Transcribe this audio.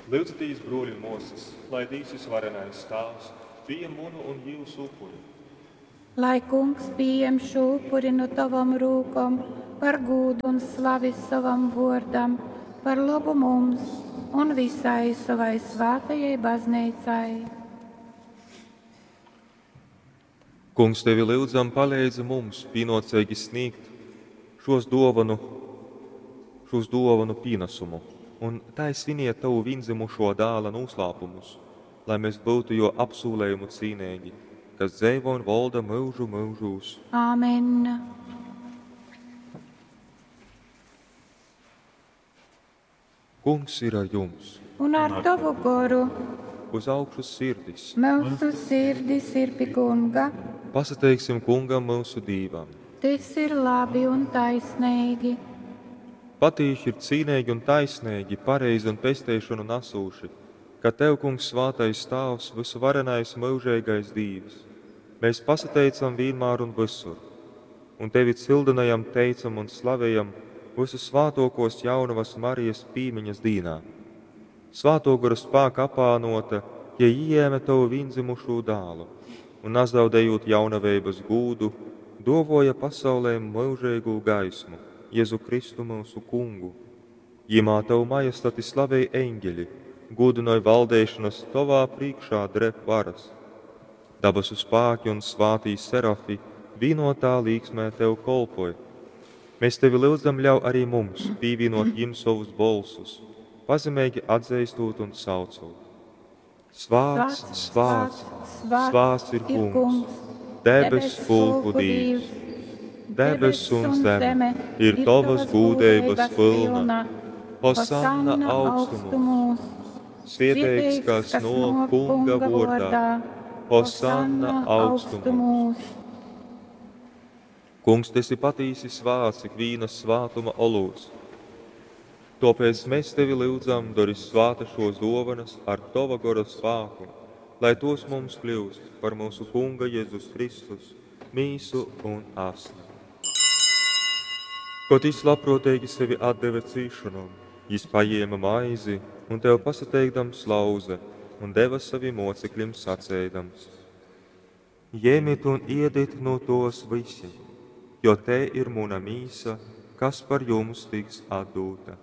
Lyudzitīs, bruoļi un muosys, lai Dīvs Vysvarenais Tāvs pījem munu un jiusu upuri. Lai Kungs pījem šū upuri nu tovom rūkom par gūdu un slavi sovam vuordam, par lobu mums un visai sovai svātajai bazneicai. Kungs, tevi lyudzam, paleidzi mums pīnuoceigi snīgt šos duovonu, šūs duovonu pīnasumu un tai sviniet tavu vīndzymušuo dāla nūslāpumus, lai mēs byutu juo apsūlejumu cīneigi, kas dzeivo un volda myužu myužūs. Āmen. Kungs ir ar jums! Un ar tovu goru Uz augšu sirdis! mūsu sirdis ir pi Kunga. Pasateiksim Kungam myusu Dīvam! Tys ir labi un taisneigi. Patīši ir cīneigi un taisneigi, pareizi un pesteišonu nasūši, ka Tev, Kungs, svātais Tāvs, vysuvarenais myužeigais Dīvs, mēs pasateicam vīnmār un vysur, un Tevi cyldynojam, teicam un slavejam vysusvātōkōs Jaunovas Marijas pīmiņas dīnā. Svātō Gora spāka apānōta, jei ījēme Tovu vīndzymušū Dālu un, nazaudejūt jaunaveibas gūdu, dōvōja pasaulei myužeigū gaismu, Jezu Kristu myusu Kungu. Jymā Tovu majestati slavej eņgeļi, gūdynoj valdeišonas, Tovā prīškā dreb varas. Dabasu spāki un svātī serafi vīnotā līksmē Tev kolpoj. Mēs Tevi lyudzam, ļauj arī mums pīvīnot jim sovus bolsus, pazemeigi atzeistot un saucot. Svāts, svāts, svāts ir Kungs, debess pulku Dīvs. Debess un zeme ir Tovas gūdeibas pylna. Hosanna augstumūs! Svieteigs, kas nōk Kunga vōrdā. Hosanna augstumūs! Kungs, tu esi patīsi svāts, ikvīna svātuma olūts. Tōpēc mēs tevi lyudzam, dori svāta šos dōvanas ar tova gora spāku, lai tos mums kļūst par mūsu Kunga Jēzus Kristus, mīsu un asni. Kod jis labprōteigi sevi atdeve cīšonom, jis pajēma maizi un tev pasateikdams lauze un deva savim mocekļim saceidams: Jemit un iedit nu tos visi, jo te ir muna mīsa, kas par jums tiks atdūta.